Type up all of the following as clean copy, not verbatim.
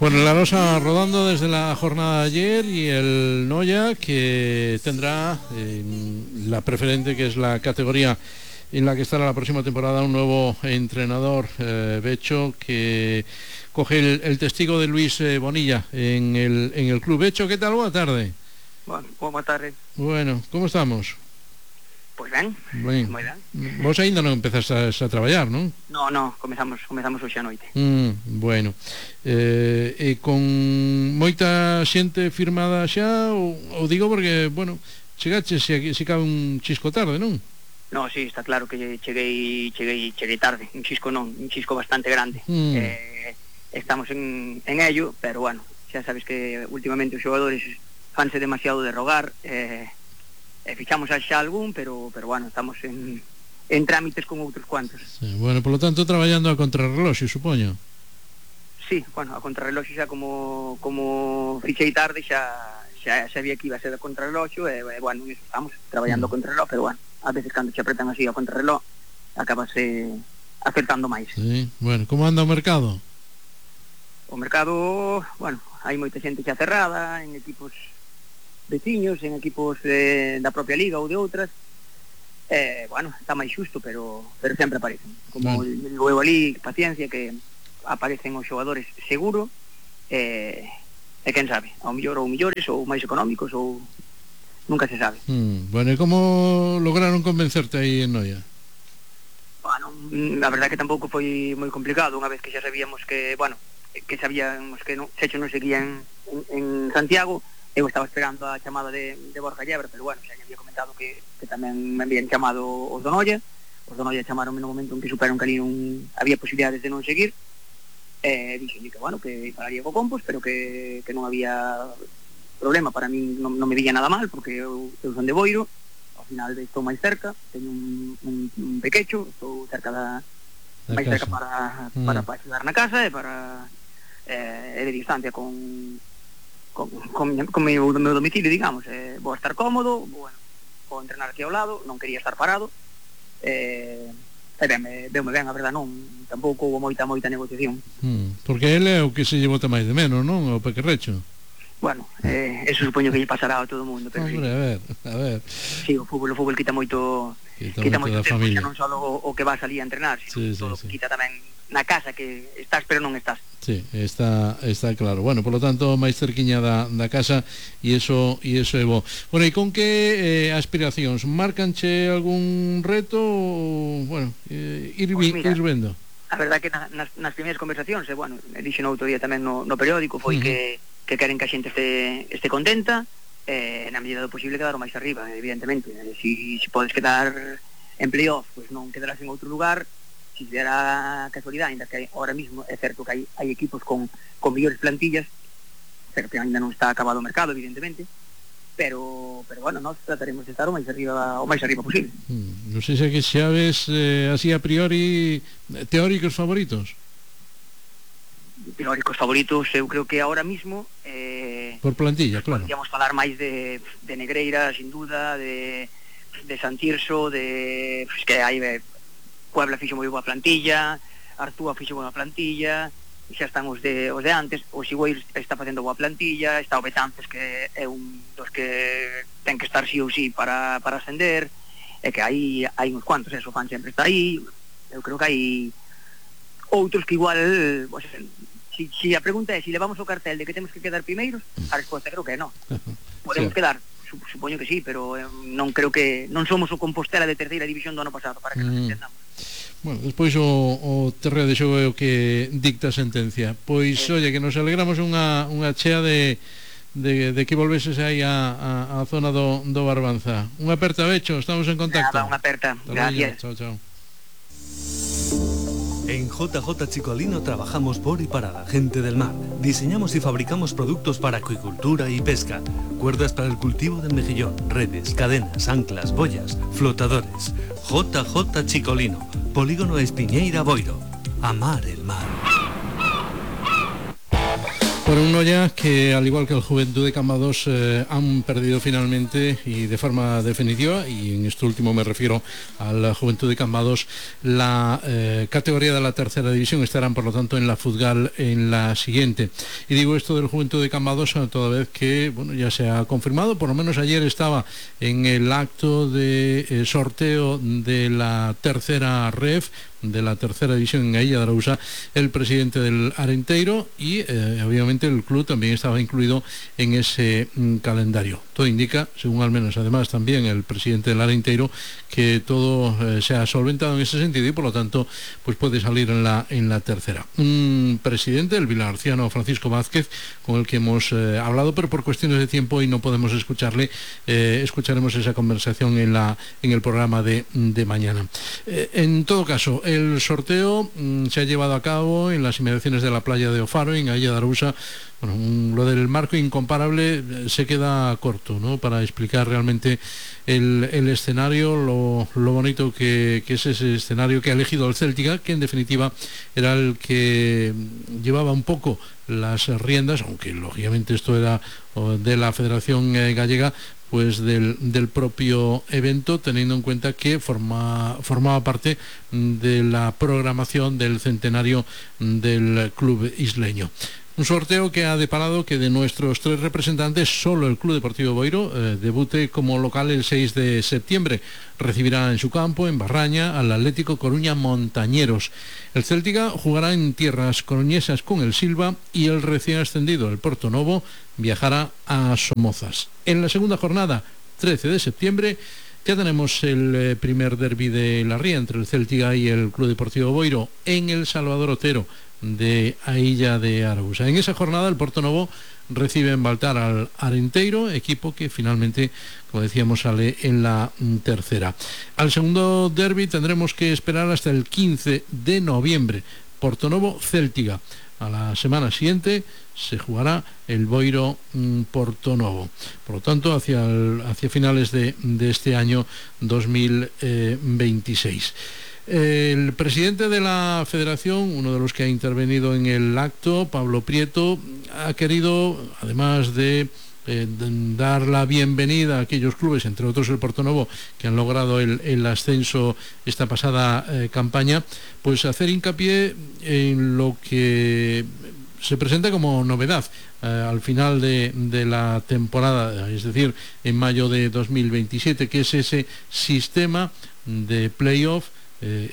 Bueno, la Rosa rodando desde la jornada de ayer y el Noia que tendrá la preferente, que es la categoría en la que estará la próxima temporada, un nuevo entrenador, Becho, que coge el testigo de Luis Bonilla en el club. Becho, ¿qué tal? Buena tarde. Bueno, boa tarde. Bueno, ¿cómo estamos? Pois ben, moi ben. Vos ainda non empezas a traballar, non? No, comezamos hoxe a noite. Bueno, e con moita xente firmada xa, ou digo porque, bueno, chegaches se cabe un chisco tarde, non? No, sí, está claro que cheguei tarde, un chisco bastante grande. Estamos en ello, pero bueno, xa sabes que últimamente os xogadores fanse demasiado de rogar, fichamos xa algún, pero bueno, estamos en trámites con outros cuantos. Sí, bueno, por lo tanto traballando a contrarreloxo, supoño. Sí, bueno, a contrarreloxo xa como fichei tarde xa sabía que iba a ser a contrarreloxo e bueno, iso estamos traballando a contrarreloxo, pero bueno, a veces cando se apretan así a contrarreloxo acabase acertando máis. Sí, bueno, como anda o mercado? O mercado, bueno, hai moita xente xa cerrada en equipos veciños, en equipos da propia liga ou de outras. Bueno, está máis xusto, pero sempre aparecen. Como digo eu ali, paciencia, que aparecen os xogadores seguro, e quen sabe, ao mellor ou millores ou máis económicos, ou nunca se sabe. Bueno, e como lograron convencerte aí en Noia? Bueno, a verdade que tampouco foi moi complicado, unha vez que xa sabíamos que, bueno, que sabíamos que Checho non seguía en Santiago. Eu estaba esperando a chamada de Borja Llebre, pero bueno, xa me había comentado que tamén me habían chamado os do Noia. Os do Noia chamaron no momento en que superan que ali había posibilidades de non seguir. Dixenlle que, bueno, que pararía co Compos, pero que non había problema. Para mí non me veía nada mal, porque eu son de Boiro. Ao final estou máis cerca, teño un pequecho, estou cerca máis cerca para axudar na casa e para de distancia con meu domicilio, digamos. Vou estar cómodo, bueno, vou entrenar aquí ao lado, non quería estar parado, deume ben, a verdad, non, tampouco houve moita negociación. Porque ele é o que se lle bota máis de menos, non? O pequerrecho. Bueno, eso supoño que lle pasará a todo o mundo, pero hombre, sí. A ver. Sí, o fútbol quita moito tempo, xa non só o que vas ali a entrenar, sino todo o que quita tamén na casa, que estás pero non estás. Sí, está claro. Bueno, por lo tanto, máis cerquiña da casa, e iso é bo. Bueno, e con que aspiracións? Marcanche algún reto ou, bueno, ir vendo? A verdade que nas primeiras conversacións, bueno, dixen outro día tamén no periódico, foi que queren que a xente este contenta, na medida do posible quedar o máis arriba, evidentemente. Si podes quedar en playoff, pois non quedarás en outro lugar. Si se dará casualidade, ainda que ahora mismo é certo que hai equipos con mellores plantillas, pero que ainda non está acabado o mercado, evidentemente, pero bueno, nós trataremos de estar o máis arriba posible. Non sei se xa ves así a priori teóricos favoritos. Teóricos favoritos, eu creo que ahora mismo por plantilla, claro. Podríamos falar máis de Negreira, sin duda, de Santirso, de que hai Puebla fixo moi boa plantilla, Artúa fixo boa plantilla, xa están os de antes, o Sigüeiro está facendo boa plantilla, está o Betances, que é un dos que ten que estar sí ou sí para ascender, e que hai uns cuantos, o Fan sempre está aí. Eu creo que hai outros que igual, si a pregunta é se levamos o cartel de que temos que quedar primeiros, a resposta creo que non. Podemos quedar, supoño que sí, pero non creo que non somos o Compostela de terceira división do ano pasado, para que nos entendamos. Bueno, despois o terreo de xogo é o que dicta a sentencia. Pois, oye, que nos alegramos unha chea de que volveses aí a zona do Barbanza. Unha aperta, Becho, estamos en contacto. Nada, unha aperta, gracias. Chao. En JJ Chicolino trabajamos por y para la gente del mar. Diseñamos y fabricamos productos para acuicultura y pesca. Cuerdas para el cultivo del mejillón, redes, cadenas, anclas, boyas, flotadores. JJ Chicolino, Polígono Espiñeira, Boiro. Amar el mar. Por un Noya que, al igual que el Juventud de Cambados, han perdido finalmente y de forma definitiva, y en esto último me refiero al Juventud de Cambados, la categoría de la tercera división. Estarán, por lo tanto, en la Futgal en la siguiente. Y digo esto del Juventud de Cambados toda vez que, bueno, ya se ha confirmado, por lo menos ayer estaba en el acto de sorteo de la tercera ref, de la tercera división en Ailla de Arousa, el presidente del Arenteiro, y obviamente el club también estaba incluido en ese calendario. Todo indica, según al menos además también el presidente del Arenteiro, que todo se ha solventado en ese sentido y por lo tanto pues puede salir en la tercera. Un presidente, el vilarciano Francisco Vázquez, con el que hemos hablado, pero por cuestiones de tiempo y no podemos escucharle. Escucharemos esa conversación en el programa de mañana. En todo caso, el sorteo se ha llevado a cabo en las inmediaciones de la playa de Ofaro, en Ailla de Arousa. Bueno, lo del marco incomparable se queda corto, ¿no?, para explicar realmente el escenario, lo bonito que es ese escenario que ha elegido el Céltica, que en definitiva era el que llevaba un poco las riendas, aunque lógicamente esto era de la Federación Gallega, pues del propio evento, teniendo en cuenta que formaba parte de la programación del centenario del club isleño. Un sorteo que ha deparado que de nuestros 3 representantes, solo el Club Deportivo Boiro debute como local el 6 de septiembre. Recibirá en su campo, en Barraña, al Atlético Coruña Montañeros. El Céltica jugará en tierras coruñesas con el Silva y el recién ascendido, el Portonovo, viajará a Somozas. En la segunda jornada, 13 de septiembre, ya tenemos el primer derbi de la Ría entre el Céltica y el Club Deportivo Boiro en el Salvador Otero de Ailla de Arousa. En esa jornada el Portonovo recibe en Baltar al Arenteiro, equipo que finalmente, como decíamos, sale en la tercera. Al segundo derbi tendremos que esperar hasta el 15 de noviembre, Portonovo-Céltica. A la semana siguiente se jugará el Boiro Portonovo. Por lo tanto, hacia finales de este año 2026. El presidente de la federación, uno de los que ha intervenido en el acto, Pablo Prieto, ha querido, además de dar la bienvenida a aquellos clubes, entre otros el Portonovo, que han logrado el ascenso esta pasada campaña, pues hacer hincapié en lo que se presenta como novedad al final de la temporada, es decir, en mayo de 2027, que es ese sistema de playoff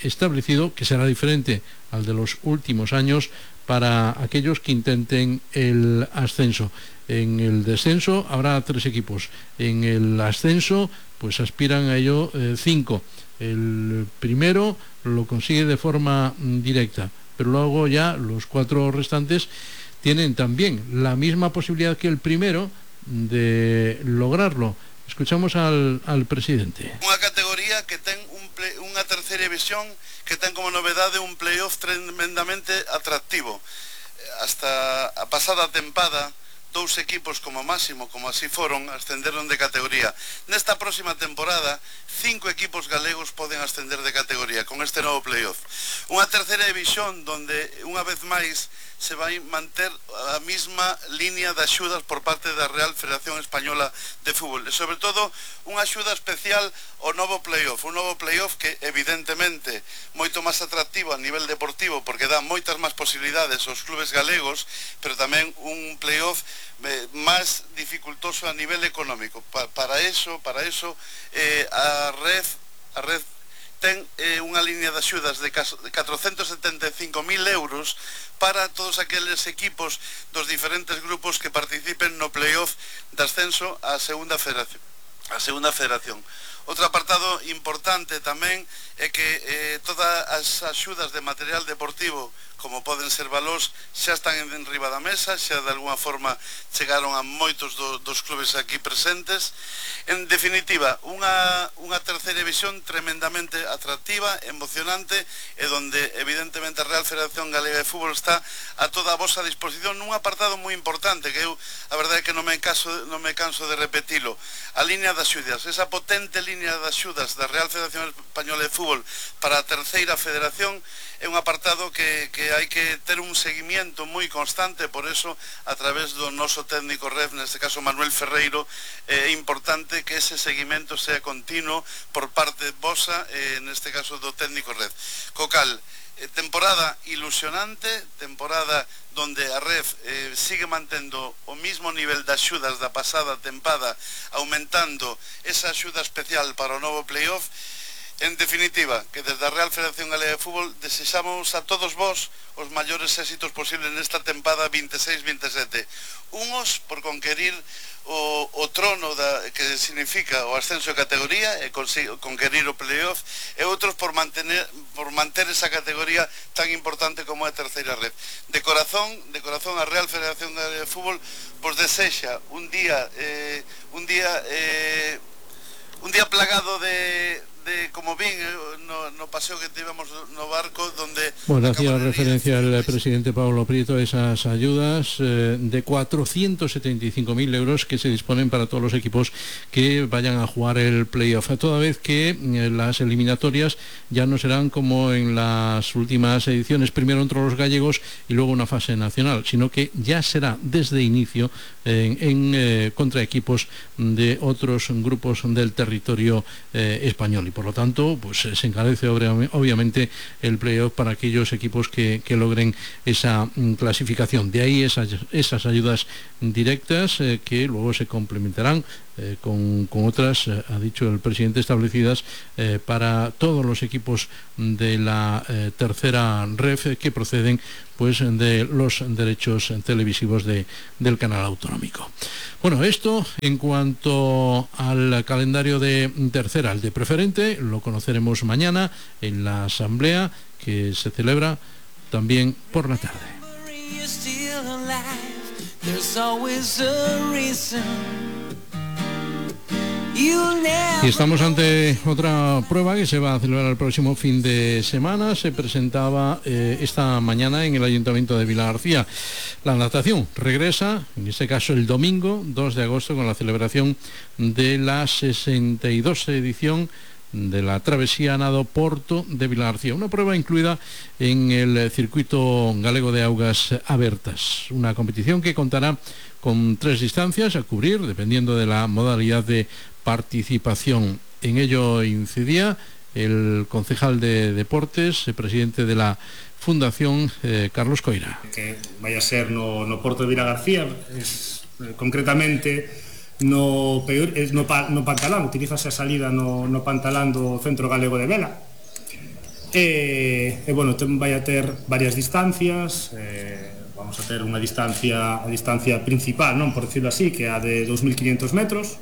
establecido, que será diferente al de los últimos años para aquellos que intenten el ascenso. En el descenso habrá 3 equipos, en el ascenso pues aspiran a ello 5. El primero lo consigue de forma directa, pero luego ya los 4 restantes tienen también la misma posibilidad que el primero de lograrlo. Escuchamos al presidente. Unha categoría que ten unha terceira división que ten como novedade un playoff tremendamente atractivo. Hasta a pasada tempada, 2 equipos como máximo, como así foron, ascenderon de categoría. Nesta próxima temporada, 5 equipos galegos poden ascender de categoría con este novo playoff. Unha terceira división donde, unha vez máis, se vai manter a mesma línea de axudas por parte da Real Federación Española de Fútbol. E, sobre todo, unha axuda especial ao novo playoff. Un novo playoff que, evidentemente, moito máis atractivo a nivel deportivo, porque dá moitas máis posibilidades aos clubes galegos, pero tamén un playoff máis dificultoso a nivel económico. Para eso a Red ten unha línea de axudas de 475.000 euros para todos aqueles equipos dos diferentes grupos que participen no playoff de ascenso á segunda federación. Outro apartado importante tamén é que todas as axudas de material deportivo, como poden ser valós, xa están en riba da mesa, xa de alguna forma chegaron a moitos dos clubes aquí presentes. En definitiva, unha terceira división tremendamente atractiva, emocionante, e donde evidentemente a Real Federación Galega de Fútbol está a toda a vosa disposición nun apartado moi importante que eu, a verdade é que non me canso de repetilo. A línea de axudas, esa potente línea de axudas da Real Federación Española de Fútbol para a terceira federación, é un apartado que hai que ter un seguimiento moi constante, por eso a través do noso técnico ref, neste caso Manuel Ferreiro, é importante que ese seguimento sea continuo por parte vosa, neste caso do técnico ref. Cocal, temporada ilusionante, temporada donde a REF sigue mantendo o mismo nivel de axudas da pasada tempada, aumentando esa axuda especial para o novo playoff. En definitiva, que desde a Real Federación Galega de Fútbol desexamos a todos vos os maiores éxitos posibles nesta tempada 26-27. Unos por conquerir o trono que significa o ascenso de categoría e conquerir o playoff, e outros por manter esa categoría tan importante como a terceira red. De corazón a Real Federación Galega de Fútbol vos desexa un día plagado de como vin no paseo que tivemos no barco donde... Bueno, hacía referencia el presidente Pablo Prieto a esas ayudas de 475.000 euros que se disponen para todos los equipos que vayan a jugar el playoff, toda vez que las eliminatorias ya no serán como en las últimas ediciones, primero entre los gallegos y luego una fase nacional, sino que ya será desde inicio contra equipos de otros grupos del territorio español, y por lo tanto pues se encarece obviamente el playoff para aquellos equipos que logren esa clasificación. De ahí esas ayudas directas que luego se complementarán con otras, ha dicho el presidente, establecidas para todos los equipos de la tercera ref que proceden pues de los derechos televisivos del canal autonómico. Bueno, esto en cuanto al calendario de tercera. El de preferente lo conoceremos mañana en la asamblea que se celebra también por la tarde. Y estamos ante otra prueba que se va a celebrar el próximo fin de semana. Se presentaba esta mañana en el Ayuntamiento de Vilagarcía. La natación regresa, en este caso el domingo 2 de agosto, con la celebración de la 62 edición de la Travesía Nado Porto de Vilagarcía, una prueba incluida en el circuito galego de augas abertas, una competición que contará con 3 distancias a cubrir dependiendo de la modalidad de participación. En ello incidía el concejal de Deportes, el presidente de la Fundación, Carlos Coira. Que vaya a ser no Porto de Vilagarcía, concretamente no Pantalán, utilízase a salida no Pantalán do Centro Galego de Vela. Bueno, vai a ter varias distancias, vamos a ter a distancia principal, non, por decirlo así, que é a de 2.500 metros.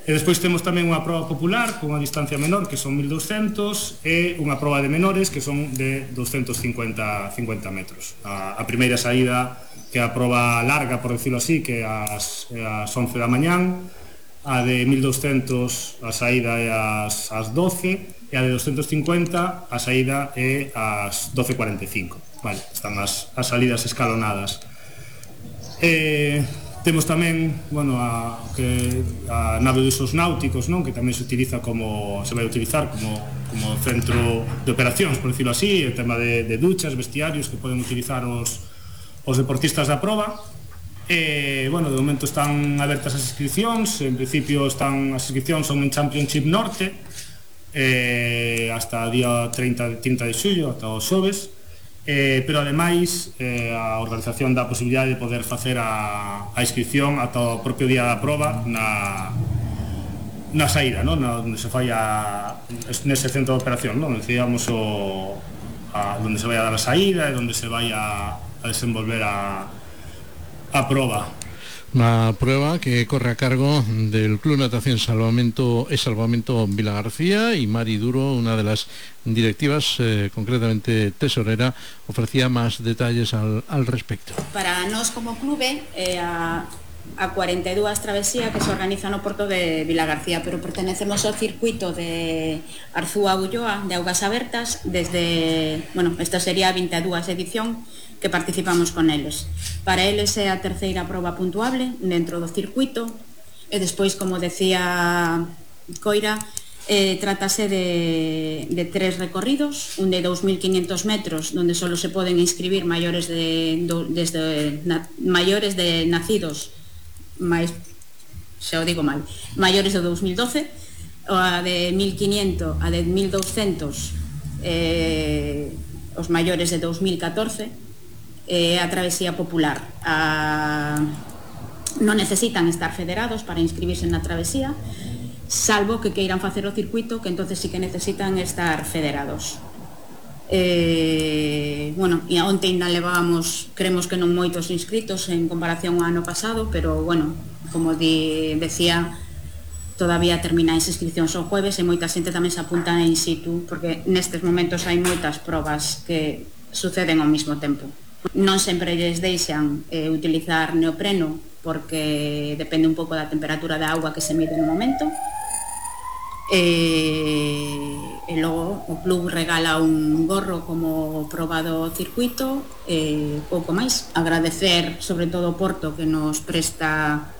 E despois temos tamén unha proba popular con unha distancia menor, que son 1.200, e unha proba de menores, que son de 250 metros. A primeira saída, que é a proba larga, por decirlo así, que é ás 11 da mañán, a de 1.200 a saída é ás 12, e a de 250 a saída é ás 12:45. Vale, están as salidas escalonadas. Temos tamén, bueno, a nave de usos náuticos, non? Que tamén se vai utilizar como centro de operacións, por decirlo así, el tema de duchas, vestiarios que poden utilizar os deportistas da proba. Bueno, de momento están abertas as inscripcións, en principio as inscripcións son en Championship Norte, hasta o día 30 de xullo, ata os xoves. Pero ademais a organización dá a posibilidade de poder facer a inscripción ata o propio día da proba na saída, non? Onde se fai nese centro de operación, non? Decíamos onde se vai a dar a saída e onde se vai a desenvolver a proba. Una prueba que corre a cargo del Club Natación Salvamento Vilagarcía, y Mari Duro, una de las directivas, concretamente tesorera, ofrecía más detalles al respecto. Para nós como clube a 42 travesía que se organiza no Porto de Vilagarcía, pero pertenecemos ao circuito de Arzúa Ulloa de augas abertas desde, bueno, esta sería a 22 edición que participamos con eles. Para eles é a terceira proba puntuable dentro do circuito, e despois, como decía Coira, Trátase de 3 recorridos, un de 2.500 metros, donde solo se pueden inscribir mayores de nacidos, xa o digo mal, mayores de 2012, a de 1.500 a de 1.200 os maiores de 2014, a travesía popular. Non necesitan estar federados para inscribirse na travesía, salvo que queiran facer o circuito, que entonces sí que necesitan estar federados. Bueno, e onte ainda levábamos, creemos que non moitos inscritos en comparación ao ano pasado, pero bueno, como decía, todavía termina as inscripcións o jueves e moita xente tamén se apunta in situ, porque nestes momentos hai moitas probas que suceden ao mesmo tempo. Non sempre lles deixan utilizar neopreno, porque depende un pouco da temperatura da auga que se mide no momento. E logo o club regala un gorro como proba do circuito, pouco máis. Agradecer sobre todo o Porto, que nos presta,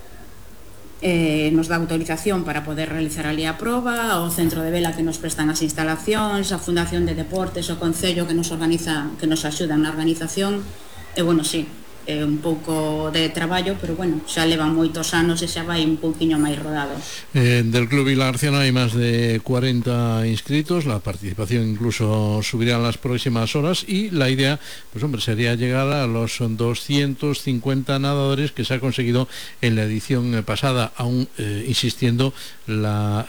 nos dá autorización para poder realizar ali a proba, ao centro de vela que nos prestan as instalacións, a Fundación de Deportes, o Concello que nos organiza, que nos axudan na organización. E bueno, sí, é un pouco de traballo, pero bueno, xa levan moitos anos e xa vai un pouquiño máis rodado. Del Club Vilagarciano hay más de 40 inscritos, la participación incluso subirá en las próximas horas y la idea, pues hombre, sería llegar a los 250 nadadores que se ha conseguido en la edición pasada, aún insistiendo la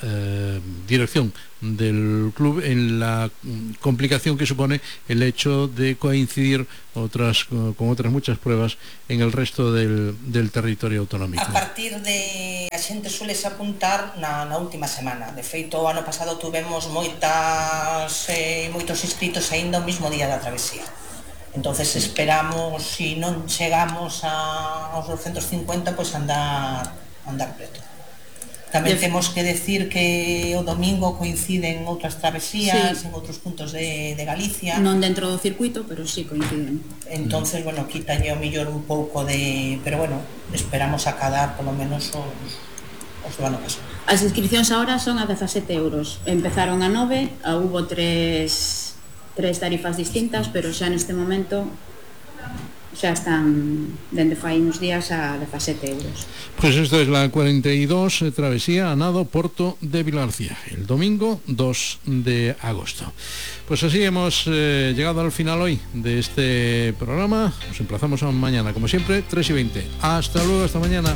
dirección del club en la complicación que supone el hecho de coincidir con otras muchas pruebas en el resto del territorio autonómico. A partir de a xente sueles apuntar na última semana. De feito, o ano pasado tuvemos moitos inscritos aínda o mismo día da travesía. Entonces esperamos, se non chegamos aos 250, pois andar preto. Tamén temos que decir que o domingo coinciden outras travesías, sí, en outros puntos de Galicia. Non dentro do circuito, pero sí coinciden. Entonces, bueno, quítalle o mellor un pouco de... Pero bueno, esperamos acadar polo menos os do ano pasado. As inscripcións agora son a 17 euros. Empezaron a 9, hubo tres tarifas distintas, pero xa neste momento xa están dende fai uns días a 17 euros. Pues esto es la 42 travesía a nado Porto de Vilagarcía, el domingo 2 de agosto. Pues así hemos llegado al final hoy de este programa. Nos emplazamos a mañana, como siempre, 3:20. Hasta luego, hasta mañana.